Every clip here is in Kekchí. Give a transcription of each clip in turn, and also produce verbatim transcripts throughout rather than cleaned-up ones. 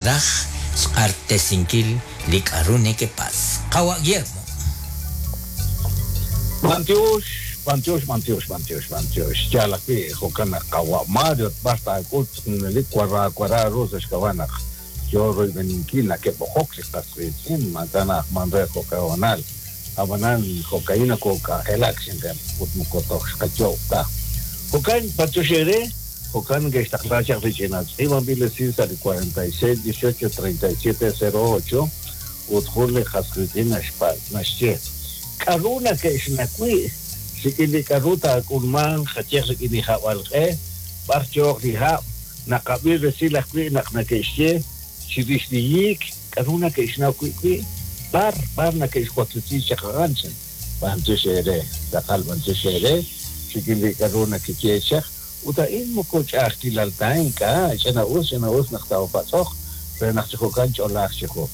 Raj xq'axtesinkil li k'a'ru nekepatz'. Qawa' Guillermo. B'antiox, b'antiox, b'antiox, b'antiox, b'antiox. Yaal ajwi' jo'kan naq qawa' Mario b'ar taak'ut junelik wara wara ru sa' xk'ab'a' naq yoo royb'eninkil nake'b'oqok li qas qiitz'in maak'a' na'ajman re jo'q'e hoonal. Ab'anan jo'ka'in nakok'anjelak xinqen ut moko toj xqayoob' ta. Jo'kan b'antiox eere, jo'kan neke'xtaqla chaq li ch'ina tz'iib'anb'il esil sa' li cuarenta y seis dieciocho treinta y siete cero ocho ut jun li qas qiitz'in naxpa' naxye k'a'ru nake'xnawi' rik'in li k'a'ru taak'ulmanq qayeh rik'in li hab'alq'e b'ar yooq li hab' naqab'i resil ajwi' naq nake'xye chirix li yiik k'a'ru nake'xnaw wi' wi' b'ar b'ar nake'xwaklesi chaq a'an chan b'antiox eere tz'aqal b'antiox eere rik'in li k'a'ru nakeye chaq ut a'in moko ch'a'ajkilal ta ink'a' ch'ina us ch'ina us naq taapatz'oq re naq chi jo'kan ch'olaaq chi jo.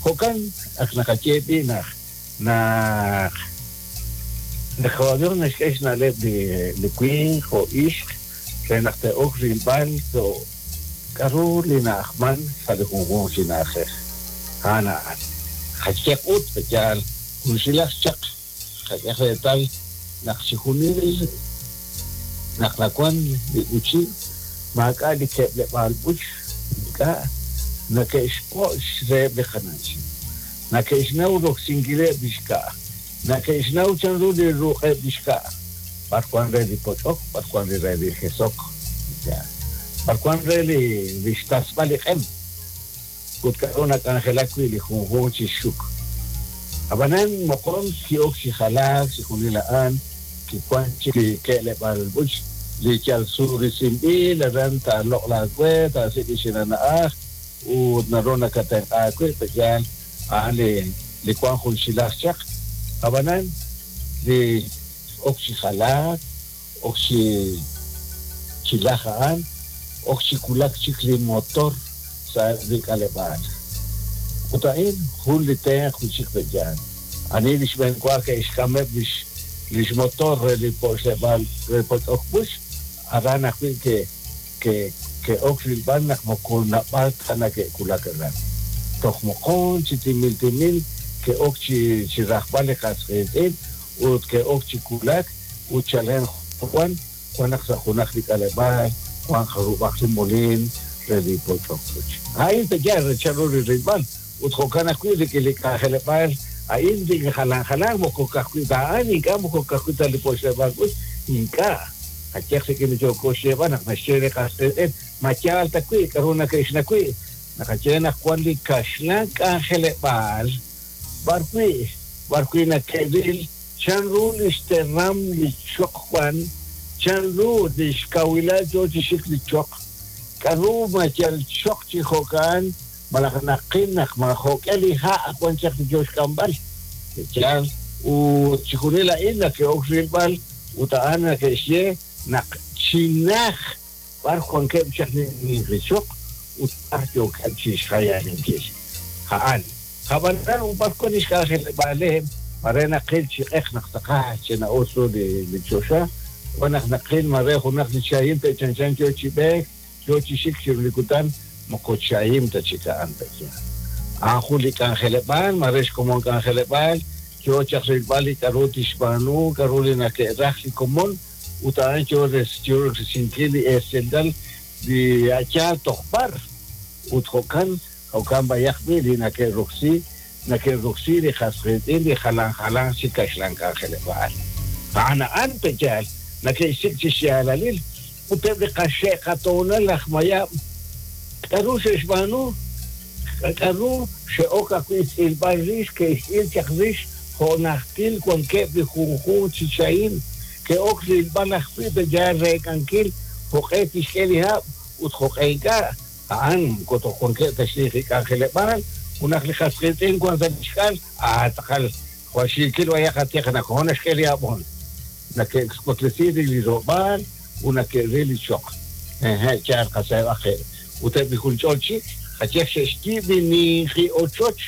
Jo'kan ak naqaye b'i' naq naq naq Dios naxk'e xna'leb' li li winq jo' ixq re naq te'ok rilb'al to' k'a'ru li na'ajman sa' li junjunq chi na'ajej. A'an a'an. Qayeh ut yaal junxilaj chaq qak'e reetal naq chi junil naq nawan li b'uchi maak'a' li ke'leb'aal b'uch ink'a' nake'xpo' reheb' li qana'chin. Nake'xnaw roksinkileb' li xka'. Nake'xnaw chanru li ruq'eb' li xka'. B'ar wan re li poch'ok, b'ar wan re li jesok. B'ar wan re li li xtasb'al li q'em. Ut k'a'ru nak'anjelak wi' li junjunq chi xuk. Ab'anan moqon ki'ok chi jalaak chi junil a'an kiwan chik li ke'leb'aal b'uch li yal surisinb'il aran taaloq' laawe taasik' li xinana'aj ut naru nakatenq'a wi' pe'yaal a'an li li wan junxilaj chaq. Ab'anan li ok chi jalaak ok chi chilaj a'an ok chi wulak chik li motor sa' li k'aleb'aal. Ut a'in jun li tenq wi' chik pe'yaal. Ani li xb'een wa ke'xk'ameb' lix lix motor re li po'xleb'aal re poch'ok b'uch aran ajwi' ke ke ke'ok rilb'al naq moko nab'al ta nake'wulak aran. Toj moqon chi timil timil ke'ok chi chi rajb'al li qas qiitz'in ut ke'ok chi wulak ut chalen wan wan naq sa' junaq li k'aleb'aal wan jarub'aq li molin re li poch'ok b'uch. A'in pe'yaal re chanru li rilb'al ut jo'kan ajwi' rik'in li k'anjeleb'aal a'in li jalan jalan moko ka'ajwi' ta a'an ink'a' moko ka'ajwi' ta li po'xleb'aal b'uch ink'a' qayeh rik'in li yooko xyeeb'al naq naxye li qas qiitz'in ma yaal ta wi' k'a'ru nake'xnawi' naqaye naq wan li kaxlan k'anjeleb'aal b'ar wi' b'ar wi' nake'ril chanru li xteram li choq wan chanru li xkawilal yoo chi xik li choq k'a'ru ma yal choq chi jo'kan malaj naqil naq ma jo'k'e li ha' wan chaq li yoo xk'amb'al. Yaal ut chi junil a'in nake'ok rilb'al ut a'an nake'xye naq chinaj b'ar wankeb' chaq li ninqi choq ut b'ar yookeb' chi xjayalinkil. A'an. Ab'anan b'ar wan li xk'anjeleb'aaleb' mare naqil chi q'eq naq tz'aqal china'us ru li li choxa wan naq naqil mare junaq li chahim pe'chanchan yoo chi b'eek yoo chi xik chiru li kutan moko chahim ta chik a'an pe'yaal. A'an jun li k'anjeleb'aal mare xkomon k'anjeleb'aal yoo chaq rilb'al li k'a'ru tixb'aanu k'a'ru li nake'raj li komon ut a'an yoo yoo risinkil li esilal li yaal toj b'ar ut jo'kan jo'kan b'ayaq b'i' li nake'roksi nake'roksi li qas qiitz'in li jalan jalan chi kaxlan k'anjeleb'aal. A'an a'an pe'yaal nake'xsik' chi xyaalalil ut eb' li qaxe' qatoonal laj mayab' k'a'ru xe'xb'aanu k'a'ru xe'ok ajwi' tz'ilb'al rix ke'xtz'il chaq rix jo' najtil wankeb' li junjunq chi chahim ke'ok rilb'al ajwi' pe'yaal reek'ankil jo'q'e tixk'e li hab' ut jo'q'e ink'a' a'an moko toj wankeb' ta xninqi k'anjeleb'aal junaq li qas qiitz'in wan sa' li xk'al ah tz'aqal jwal xiikil b'ayaq atieq naq jo' naxk'e li hab'on nake'xwaklesi li ro'b'aal ut nake'ril li choq. Eje yaal qaseeb'aq ut eb' li junch'ol chik qayeh xe'xyiib' li ninqi ochoch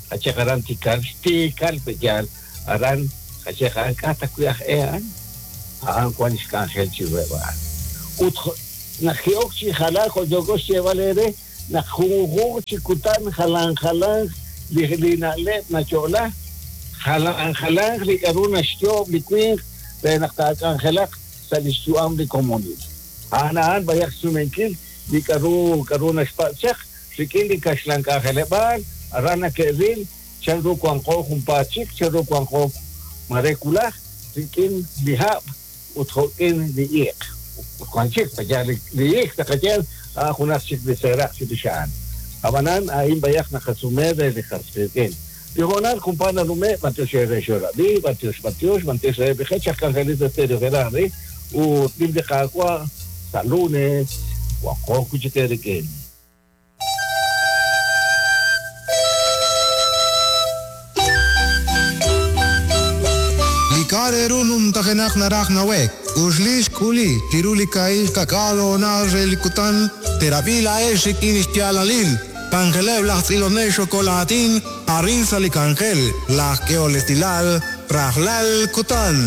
qayeh aran Tikal Tikal pe'yaal aran qayeh a'an k'a' ta wi' aj e a'an a'an wan xk'anjel chiruheb' a'an. Ut naq ki'ok chi jalaak jo' yooko xyeeb'al eere Naq junjunq chi kutan jalan jalan li li na'leb' nayo'la, jalan jalan li k'a'ru naxyoob' li winq re naq taak'anjelaq sa' li xyu'am li komonil. A'an a'an b'ayaq xsumenkil li k'a'ru k'a'ru naxpatz' chaq rik'in li kaxlan k'anjeleb'aal, aran nake'ril chanru wanqo junpaat chik, chanru wanqo mare wulaj rik'in li hab' ut jo'k'in li iq'. Wan chik b'ayaq li li iq' taqaye a'an junaq chik li seeraq chirix a'an. Ab'anan a'in b'ayaq naqasume re li qas qiitz'in. Li hoonal junpaat nanume', b'antiox re xorab'i, b'antiox, b'antiox, b'antiox reheb' li qech aj k'anjelil sa' Stereo Gerardi, ut nim li Qaawa' sa' lunes, wanqo wi' chik eerik'in. Li k'a' re ru numtajenaq naraj nawe'k, uxli xk'uli chiru li kaahib' ka'k'aal hoonal re li kutan, terab'i laa'ex rik'in xyaalalil, k'anjeleb' laj tz'ilonel xokolaatin, arin sa' li k'anjel, laj k'ehol esilal, rajlal kutan.